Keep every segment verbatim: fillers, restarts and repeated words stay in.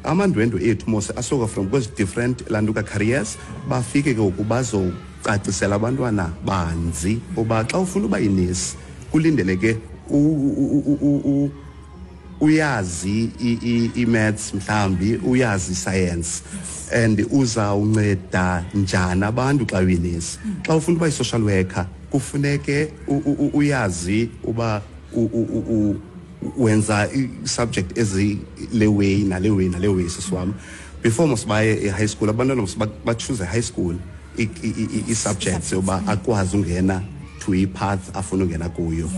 Amandwendwe ethu mos asuka from kwezi different lantuka careers, bafike ke ngoku bazocacisela abantwana banzi uba xa ufuna uba yinesi kulindeleke uyazi i-maths, mhlambi uyazi science, and uzawunceda njani abantu xa uyinesi. Xa ufuna uba yi-social worker kufuneke uyazi uba wenza i-subject ezile way nale way nale way. Sisi wam, before mos baye e-high school, abantwana mos bachoose high school i-subjects yoba akwazi ungena to i-path afuna ungena kuyo.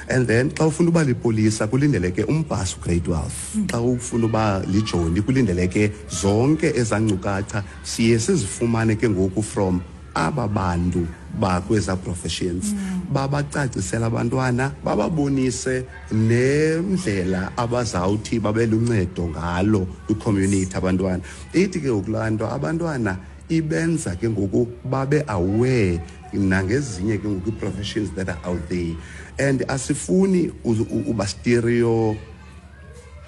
And then xa ufuna uba lipolisa kulindeleke umpasi ugrade twelve. Xa ufuna uba lijoni kulindeleke zonke ezankcukacha siye sizifumane ke ngoku from aba bantu bakweza professions, babacacisela abantwana, bababonise nendlela abazawuthi babe luncedo ngalo kwicommunity abantwana. Ithi ke ngoku laa nto abantwana ibenza ke ngoku babe aware nangezinye ke ngoku ii-professions that are out there. And asifuni uba stereo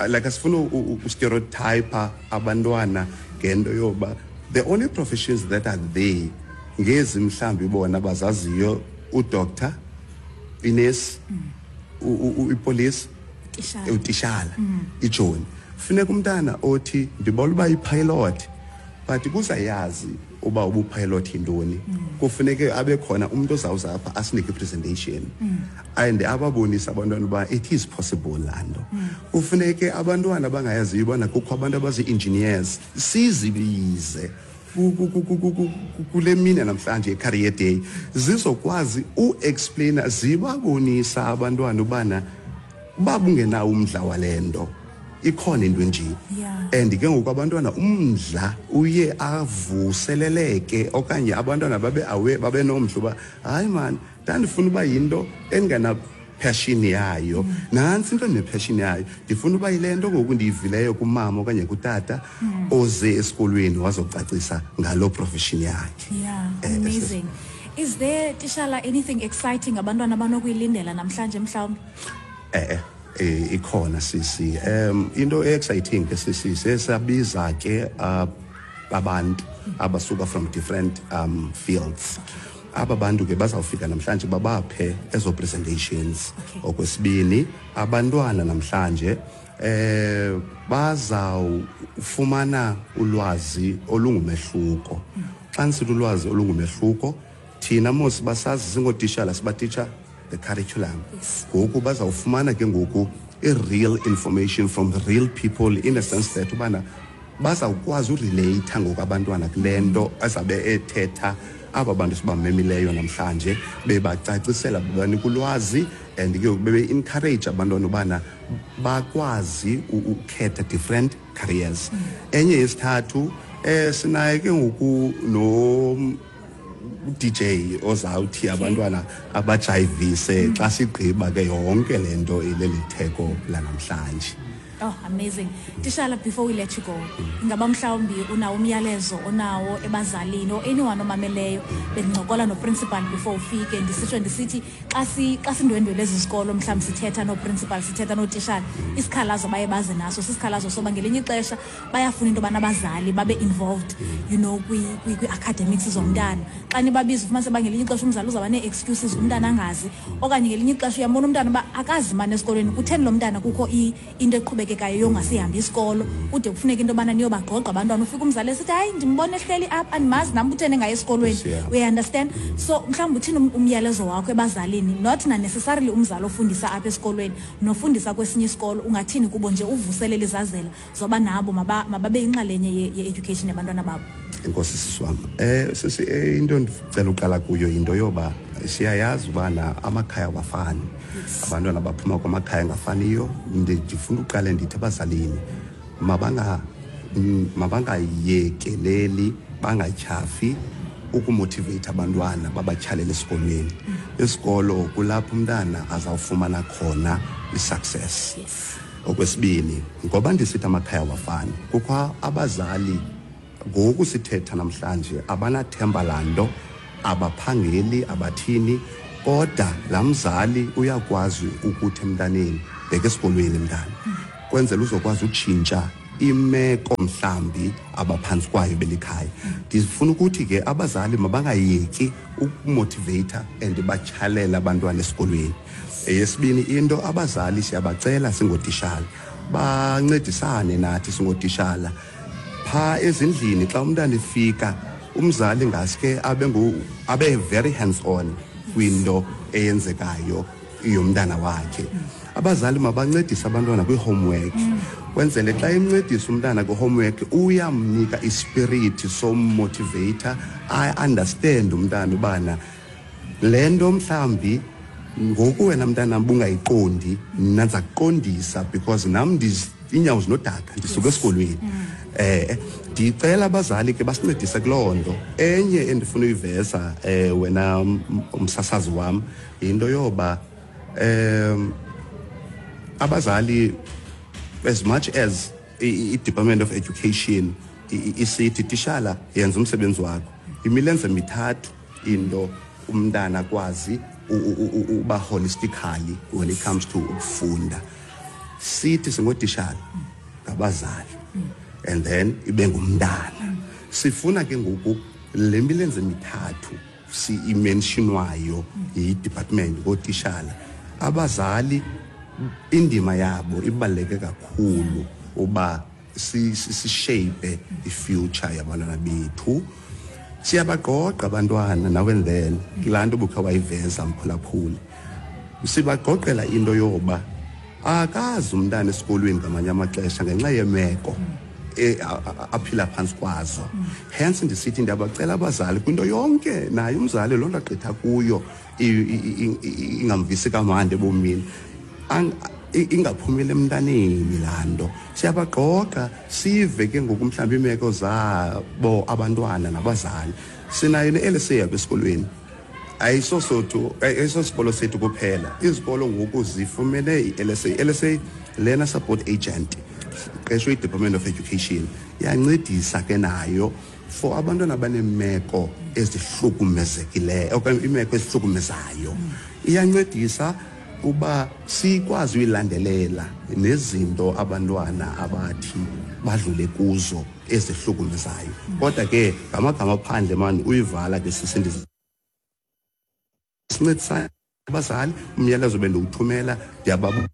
like asifuni ustereotype abantwana ngento yoba the only professions that are there ngezi mhlambi bona bazaziyo, udoctor, inesi, ipolice, utishala, ijoni. Funeka umntana othi ndibona uba yi-pilot, but kuzayazi uba ubupilot yintoni, kufuneke abe khona umuntu ozawuza apha asinike i-presentation and ababonise abantwana uba it is possible laa nto. Kufuneke abantwana abangayaziyo ubana kukho abantu abazi-engineers sizibize ku- ku- ku- ku- ku- ku- kule mini namhlanje i-career day, zizokwazi uexplaina, zibabonisa abantwana ubana uba bungenawo umdla wale nto, ikhona into enje. Yeah. And ke ngoku abantwana umdla uye avuseleleke, okanye abantwana babe aware, babe nomdla uba hayi mani, ndandifuna uba yinto endingana passion yayo, nantsi into ndinepassion yayo, ndifuna uba yile nto ngoku ndiyivileyo kumama okanye kutata oze esikolweni wazocacisa ngaloo profession yakhe. Yeah, Eh, amazing. Is there, Tishala, anything exciting abantwana abanokuyilindela namhlanje mhlawumbi? eh eh ikhona sisi. um into exciting ke sisi, sesabiza ke uh, abantu abasuka from different um fields. Aba bantu ke bazawufika namhlanje babaphe ezo presentations. Okay. Okwesibini, abantwana namhlanje eh bazawufumana ulwazi olungumehluko. Xa ndisithi ulwazi olungumehluko, thina mos basazi singootishala sibatitsha the curriculum. Yes. Ngoku bazawufumana ke ngoku i-real information from the real people, in a sense that ubana bazawukwazi urelate ngoku abantwana kule nto azabe ethetha aba bantu sibamemileyo namhlanje, bebacacisela, bebanika ulwazi, and ke ngoku bebe-encourage abantwana ubana bakwazi u- ukukhetha different careers. Enye yesithathu, eh sinaye ke ngoku no D J ozawuthi abantwana abajayivise xa sigqiba ke yonke le nto ileli theko lanamhlanje. Oh, amazing. Tishala, before we let you go, ingaba mhlawumbi unawo umyalezo onawo ebazalini or anyone omameleyo? Bendincokola noprincipal before ufike, ndisitsho ndisithi xa si xa sindwendwele ezi zikolo, mhlawumbi sithetha noprincipal, sithetha nootishala, isikhalazo baye baze naso sisikhalazo soba ngelinye ixesha bayafuna into yobana abazali babe involved you know kwi- kwi- kwi-academics zomntana. Xa nibabiza ufumanise uba ngelinye ixesha umzali uzawuba nee-excuses, umntana angazi, okanye ngelinye ixesha uyambona umntana uba akazi mani esikolweni kutheni lo mntana, kukho i- into eqhubekekayo yongasihambi isikolo, kude kufuneka into yobana niyobagqogqa abantwana. Ufike umzali esithi, "Hayi, ndimbona ehleli apha, andimazi nam kutheni engayi esikolweni." Yeah. Uyaunderstand? So mhlawumbi uthini um- umyalezo wakho ebazalini, not na-necessarily umzali ofundisa apha esikolweni nofundisa kwesinye isikolo? Ungathini kubo nje uvuselela izazela zoba nabo maba- mababe yinxalenye ye- ye-education yabantwana babo? Enkosi sisi wam. eh sisi, eh, into ndicela uqala kuyo yinto yoba siyayazi ubana amakhaya awafani, abantwana baphuma kwamakhaya angafaniyo. Ndi- ndifuna uqale ndithi abazalini mabanga mm, mabangayekeleli, bangatyhafi ukumotivate abantwana, babatyhalele esikolweni. Isikolo kulapho umntana azawufumana khona i-success. Yes okwesibini, ngoba ndisithi amakhaya awafani, kukho abazali ngoku sithetha namhlanje abanathemba laa nto, abaphangeli, abathini, kodwa laa mzali uyakwazi ukuthi emntaneni, "Bheka esikolweni mntana, kwenzela uzokwazi utshintsha Imeko mhlambi abaphantsi kwayo belikhaya. Ndifuna ukuthi ke abazali mabangayeki ukumotivate and batyhalela abantwana esikolweni. Eyesibini into, abazali siyabacela singotishala bancedisane nathi singotishala pha ezindlini. Xa umntana efika, umzali ngaske abe ngu abe very hands on kwinto eyenzekayo yomntana wakhe. Abazali mabancedise abantwana kwi-homework, kwenzele xa emncedisa umntana kwi-homework uyamnika ispirit sommotivator, a-understand umntana ubana le nto mhlawumbi ngoku wena mntanam bungayiqondi, mna ndiza kuqondisa because nam ndiz- iinyawo zinodaka, ndisuka esikolweni. eh ndicela abazali ke basincedise kuloo nto. Enye endifuna uyiveza, eh wena m- umsasazi wam, yinto yoba um abazali, as much as i- i- i-Department of Education i- i- isithi tishala yenza umsebenzi wakho, imilenze mithathu into umntana akwazi u- u- u- uba holistically when it comes to ukufunda. Sithi singotishala, ngabazali, and then ibe ngumntana. Sifuna ke ngoku le milenze mithathu si-imentionwayo yi-department ngootishala, abazali indima yabo ibaluleke kakhulu uba si- si- sishape i-future yabantwana bethu. Siyabaqoqa abantwana now and then, kulaa nto bukhe wayiveza mphulaphuli, sibaqoqela into yoba akazi umntana esikolweni ngamanye amaxesha ngenxa yemeko e- a- a- aphila phantsi kwazo. Hence ndisithi ndiyabacela abazali kwinto yonke, naye umzali loo nto agqitha kuyo i- i- i- ingamvisi kamandi ebomini, Ang- i- ingaphumeli emntaneni laa nto. Siyabaqoqa sive ke ngoku mhlawumbi iimeko zabo abantwana nabazali. Sinayo ne-L S A apha esikolweni. Ayisosothu, ayisosikolo sethu kuphela, izikolo ngoku zifumene i-L S A. I-L S A lena support agent qeshwe i-Department of Education, iyancedisa ke nayo for abantwana abaneemeko ezihlukumezekileyo okanye iimeko ezihlukumezayo. Iyancedisa uba sikwazi uyilandelela nezinto abantwana abathi badlule kuzo ezihlukumezayo. Kodwa ke ngamagama phandle mani uyivala ke sisindisa, sincedisane abazali. Umyalezo bendiwuthumela, ndiyababa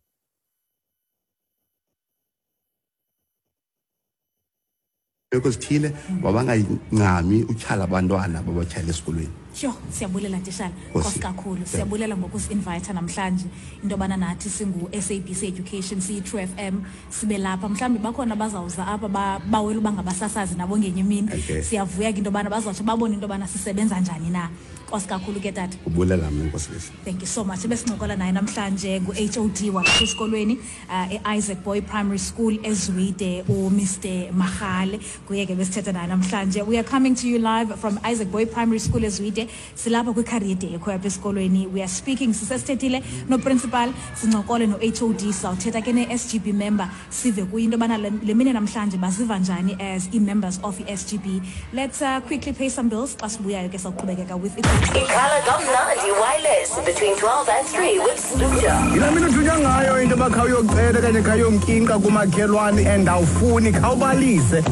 ezithile mabangayincami utyhala abantwana babatyhala esikolweni. Sure, siyabulela tishala. Nkosi. Nkosi kakhulu. Siyabulela ngokusi-invite namhlanje into yobana nathi singu-S A B C Education, siyi-True F M, sibe lapha. Mhlawumbi bakhona abazawuza apha bawela uba ngabasasazi nabo ngenye imini. Okay. Siyavuya ke into yobana bazawutsho babone into yobana sisebenza njani na. Nkosi kakhulu ke tata. Ubulela mna, Nkosi. Thank you so much. Besincokola naye namhlanje ngu-H O D walapha esikolweni uh, e-Isaac Boy Primary School eZwide, uMr Mahale. Kuye ke besithetha naye namhlanje. We are coming to you live from Isaac Boy Primary School eZwide. Silapha kwi-career day ekhoyo apha esikolweni. We are speaking, sisesithethile no-principal, sincokole no-H O D, sawuthetha ke ne-S G B member, sive kuyo into yobana le le mini namhlanje baziva njani as ii-members of i-S G B. Let's uh, quickly pay some bills. Xa sibuyayo ke sawuqhubekeka with Ikhala kamnandi wireless between twelve and three with Sluja. Yilaa mini uthunywa ngayo into yoba khawuyocela okanye khawuyomkinqa kumakhelwane and awufuni, khawubalise.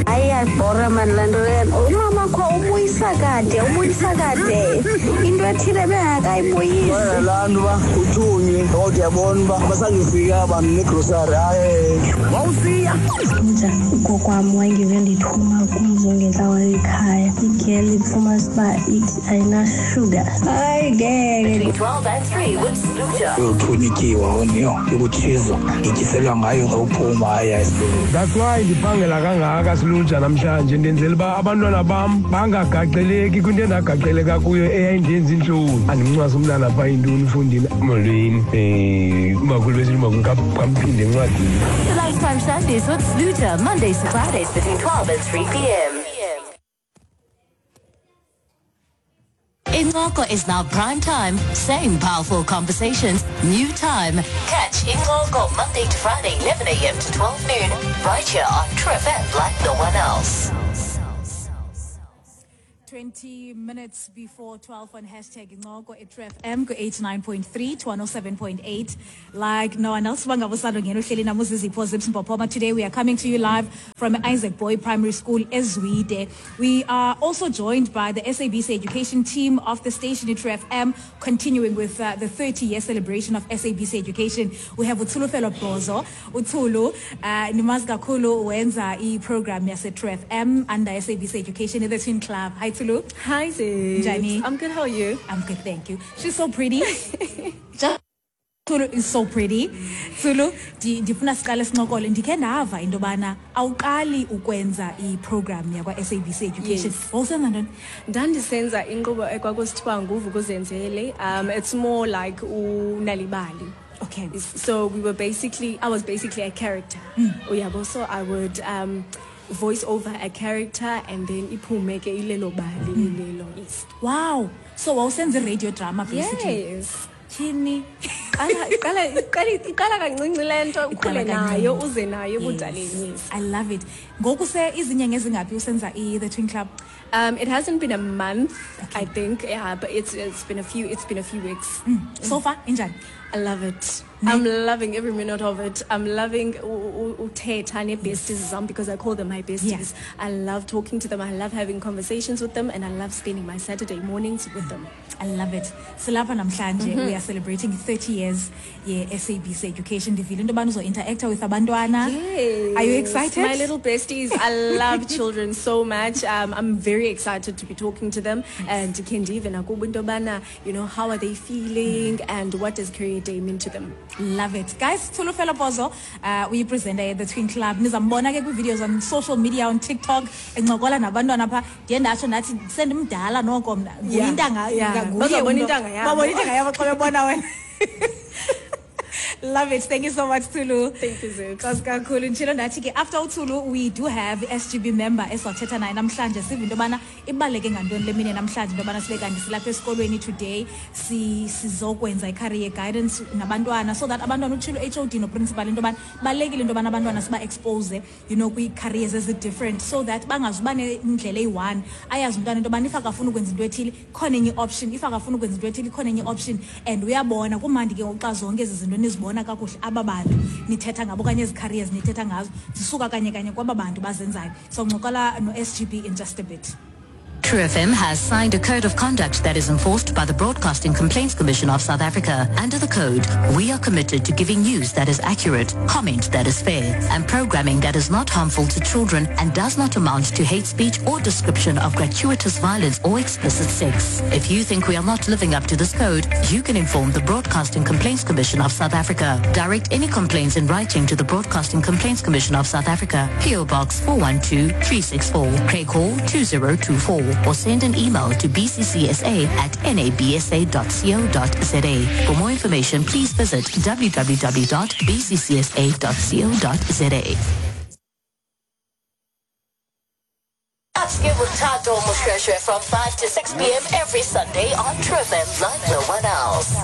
Hayi, iyabhora mani laa nto leyo. Umama kho ubuyisa kade, ubuyisa kade into ethile bengakayibuyisi. Laa nto uba uthunywe kodwa uyabona uba basandifika abantu negrosari, hayi. Wawusiya. Nja ugogo wam wayengeve ndithuma kumzo ngentlawulo ekhaya, igeli ifumanisa uba ithi ayinashuga. Hayi ngeke. Between twelve and three with Sluja. Uyothunywa ityiwa oniyo yokutshizo ngityiselwa ngayo xa uphuma, hayi hayi. That's why ndiphangela kangaka siluja namhlanje, ndenzela uba abantwana bam bangagaxeleki kwinto endagaxeleka kuyo eyayindenza intloni. Andimncwasi umntana phaa intoni ufundile, molweni, um umakhulu besithi umakhulu kamphinde encwadini. The Lunchtime Sundays with Sluja, Mondays to Fridays between twelve and three p m. Incoko is now prime time. Same powerful conversations, new time. Catch Incoko Monday to Friday, eleven a m to twelve noon, right here on True F M like no one else. twenty twenty minutes before twelve on hashtag Incoko at True F M ku eighty-nine point three to one oh seven point eight. Like no one else, bangabusalo ngeno hleli namuZizipho Zips Mpopoma. Today we are coming to you live from Isaac Boy Primary School, eZwide. We are also joined by the S A B C education team of the station at True F M, continuing with uh, the thirty-year celebration of S A B C education. We have uTsholofelo Bozo. UTsolo, uh, nimazi kakhulu wenza i-program yase True F M under S A B C education, the Twin Club. Hi, Tsulu. Hi, Ziz. Njani? I'm good. How are you? I'm good, thank you. She's so pretty. Just Tsulu is so pretty. Tsulu, ndi- ndifuna siqale sincokole. Ndikhe ndava into yobana awuqali ukwenza i-program yakwa-S A B C Education. Yes. Wawusenza ntoni? Ndandisenza inkqubo ekwakusithiwa nguVukuzenzele. Um, it's more like uNal'ibali. Okay. So we were basically, I was basically a character. Uyabo, so I would um, voice over a character and then iphume ke ilelo bali ilelo. Yes. Wow. So wawusenza i-radio drama basically. Yes. Tyhini. Iqala iqala iqala iqala kancinci le nto ukhule Iqala kancinci. Nayo uze nayo ebudaleni. Yes. I love it. Ngoku se izinyanga ezingaphi usenza i-The Twin Club? Um, it hasn't been a month, Okay. I think. Yeah, but it's it's been a few it's been a few weeks. So far, injani? I love it. I'm loving every minute of it. I'm loving u- u- uthetha nee-besties zam because I call them my besties. I love talking to them. I love having conversations with them, and I love spending my Saturday mornings with them. I love it. Silapha namhlanje, we are celebrating thirty years ye-S A B C education. Ndivile into yobana uzo-interacta with abantwana. Yes. Are you excited? My little besties. I love children so much. Um, I'm very excited to be talking to them and khe ndive nakubo into yobana, you know, how are they feeling and what does Career Day mean to them? Love it. Guys, Tsholofelo Pozo, uh, uyi-presenter ye-The Twin Club. Nizambona ke kwi-videos on social media, on TikTok, encokola nabantwana pha. Ndiye ndatsho ndathi sendimdala noko mna. Nguye Yeah, intanga- yeah. nguye Bazobona umntu- intanga yabo. Babona intanga yabo xa bebona wena. Love it. Thank you so much, Tulu. Thank you, Zips. Nkosi kakhulu. Nditshilo ndathi ke after uTsulu we do have S G B member esizawuthetha naye namhlanje, sive into yobana ibaluleke ngantoni le mini namhlanje into yobana sibe kanti silapha esikolweni today, si sizokwenza i-career guidance nabantwana so that abantwana, utshilo H O D no-principal into yobana balulekile into yobana abantwana siba-expose you know kwii-careers ezi-different so that bangazuba nendlela eyi-one. Ayazi umntwana into yobana if akafuna ukwenza into ethile ikhona enye i-option, if akafuna ukwenza into ethile ikhona enye i-option. And uyabona kumandi ke ngoku xa zonke ezi zinto nizibona kakuhle, aba bantu nithetha ngabo okanye ezi careers nithetha ngazo zisuka kanye kanye kwaba bantu bazenzayo. So ncokola no-S G B in just a bit. True F M has signed a code of conduct that is enforced by the Broadcasting Complaints Commission of South Africa. Under the code, we are committed to giving news that is accurate, comment that is fair, and programming that is not harmful to children and does not amount to hate speech or description of gratuitous violence or explicit sex. If you think we are not living up to this code, you can inform the Broadcasting Complaints Commission of South Africa. Direct any complaints in writing to the Broadcasting Complaints Commission of South Africa, P O. Box four one two three six four, Craighall two zero two four, or send an email to b c c s a at nabsa dot co dot za. For more information, please visit w w w dot b c c s a dot co dot za. Upscale with Tato Moshweshwe from five to six p m every Sunday on True F M, like no one else.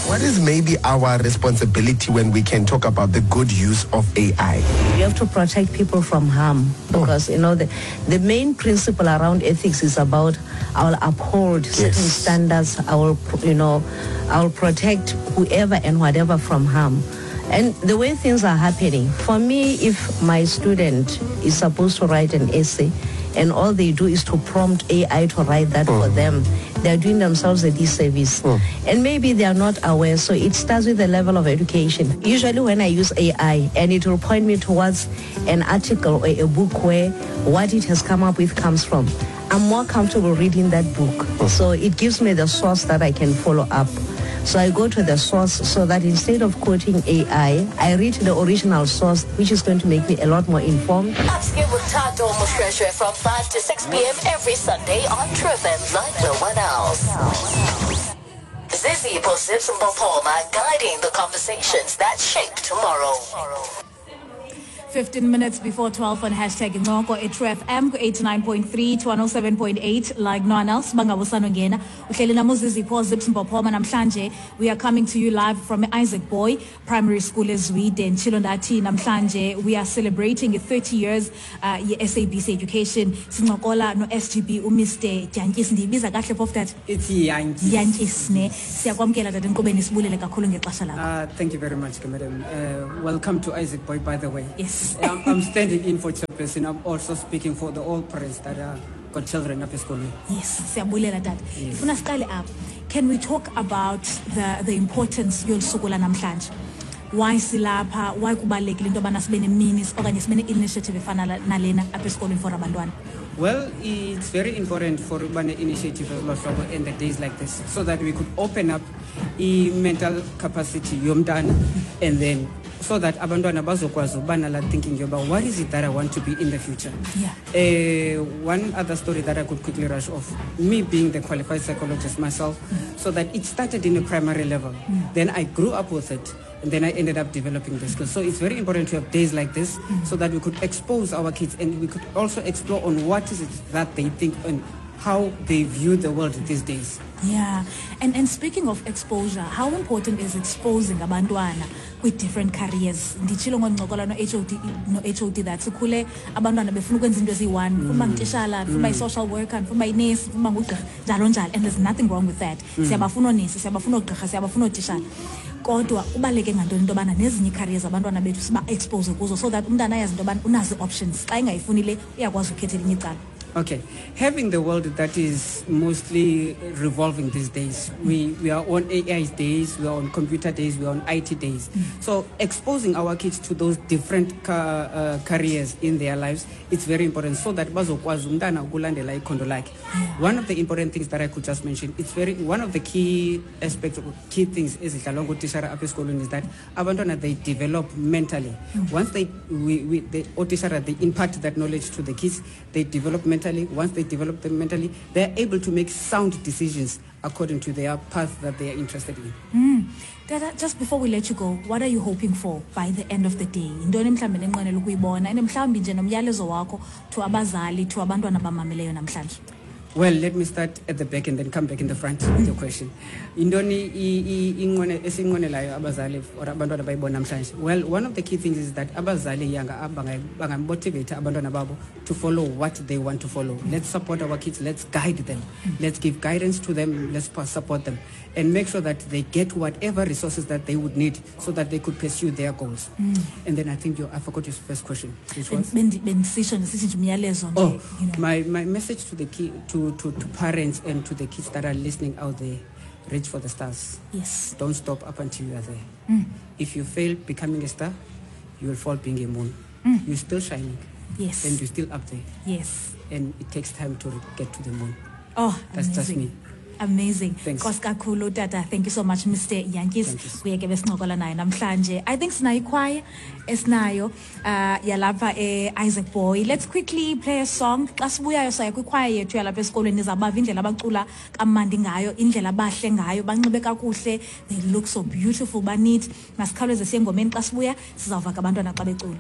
What is maybe our responsibility when we can talk about the good use of A I? You have to protect people from harm because you know the, the main principle around ethics is about I will uphold certain Yes. standards. I will you know I will protect whoever and whatever from harm. And the way things are happening, for me, if my student is supposed to write an essay and all they do is to prompt A I to write that for them, they are doing themselves a disservice. And maybe they are not aware. So it starts with the level of education. Usually when I use A I and it will point me towards an article or a book where what it has come up with comes from, I'm more comfortable reading that book. So it gives me the source that I can follow up. So I go to the source so that instead of quoting A I, I read the original source, which is going to make me a lot more informed. Upscale with Tato Moshweshwe from five to six p m every Sunday on True F M, like no one else. Zizipho Zips Mpopoma, guiding the conversations that shape tomorrow. fifteen minutes before twelve on hashtag Incoko at True F M ku eighty-nine point three to one oh seven point eight, like no one else. Bangabusanongena uhleli namuzizipho Zips Mpophoma. Namhlanje we are coming to you live from Isaac Boy Primary School eZwide. Nditshilo ndathi namhlanje we are celebrating thirty years uh, ye-S A B C education. Sincokola no-S G B uMr Dyantyis. Ndiyibiza kahle phofu, tata? It's Yankees. Yantyis ne. Siyakwamkela, tata, enkqubeni, sibulele kakhulu ngexesha lakho. Uh, thank you very much, madam. Uh, welcome to Isaac Boy, by the way. Yes. I'm, I'm standing in for chairperson. I'm also speaking for the all parents that are got children up school. Yes, siyabulela, tata. Yes. Ndifuna siqale apha. Can we talk about the, the importance yolu suku lanamhlanje? Why silapha? Why kubalulekile into yobana sibe nemini okanye sibe ne-initiative efana la- nalena apha esikolweni for abantwana? Well, it's very important for Ubane initiative as in the days like this, so that we could open up i mental capacity yomntana, and then so that abantwana bazokwazi uba nala thinking yoba what is it that I want to be in the future. Yeah. Uh, one other story that I could quickly rush off, me being the qualified psychologist myself, so that it started in a primary level. Then I grew up with it, and then I ended up developing the skills. So it's very important to have days like this so that we could expose our kids and we could also explore on what is it that they think and how they view the world these days. Yeah. And and speaking of exposure, how important is exposing abantwana with different careers? Nditshilo ngoncokola no-H O D no-H O D that sikhule abantwana befuna ukwenza into eziyi-one. Ndifuna uba ngutishala, ndifuna uba yi-social worker, ndifuna uba yinesi, ndifuna uba ngugqirha, njalo njalo. And there's nothing wrong with that. Mm. Siyabafuna oonesi, siyabafuna oogqirha, siyabafuna ootishala. Kodwa kubaluleke ngantoni into yobana nezinye ii-careers abantwana bethu siba-expose kuzo so that umntana ayazi into yobana unazo ii-options. Xa engayifuni le, uyakwazi ukhetha elinye icala. Okay, having the world that is mostly revolving these days, we, we are on A I days, we are on computer days, we are on I T days. So exposing our kids to those different ca- uh, careers in their lives, it's very important so that bazokwazi umntana ukulandela ikhondo lakhe. One of the important things that I could just mention, it's very one of the key aspects, key things ezidlalwa ngootishara apha esikolweni is that abantwana, they develop mentally. Once they, we, we, the ootishara, they impart that knowledge to the kids, they develop mentally. Once they develop them mentally, they're able to make sound decisions according to their path that they are interested in. Mm. Tata, just before we let you go, what are you hoping for by the end of the day? Yintoni mhlawumbi nenqwenela ukuyibona and mhlawumbi nje nomyalezo wakho to abazali, to abantwana abamameleyo namhlanje? Well, let me start at the back and then come back in the front with your question. Intoni i- i- inqwene- esiyinqwenelayo abazali or abantwana bayibona namhlanje? Well, one of the key things is that abazali yanga bangamotivate abantwana babo to follow what they want to follow. Let's support our kids, let's guide them. Let's give guidance to them, let's pa- support them and make sure that they get whatever resources that they would need so that they could pursue their goals. Mm. And then I think you, I forgot your first question, which was? Bendi- Bendisitsho ndisithi nje umyalezo nje. Oh, you know. my, my message to the key, to, to, to parents and to the kids that are listening out there, reach for the stars. Yes. Don't stop up until you are there. Mm. If you fail becoming a star, you will fall being a moon. Mm. You're still shining. Yes. And you're still up there. Yes. And it takes time to get to the moon. Oh, That's just amazing. me. Amazing. Thanks. Nkosi kakhulu, tata. Thank you so much, Mister Yankees. Thank you. Kuye ke besincokola naye namhlanje. I think sinayo ikhwaya esinayo uh yalapha e-Isaac Boy. Let's quickly play a song. Xa sibuyayo saya kwikhwaya yethu yalapha esikolweni, nizabava indlela abacula kamandi ngayo, indlela abahle ngayo, banxibe kakuhle. They look so beautiful, ba neat. Masikhawuleze siye engomeni, xa sibuya sizawuva ke abantwana xa becula.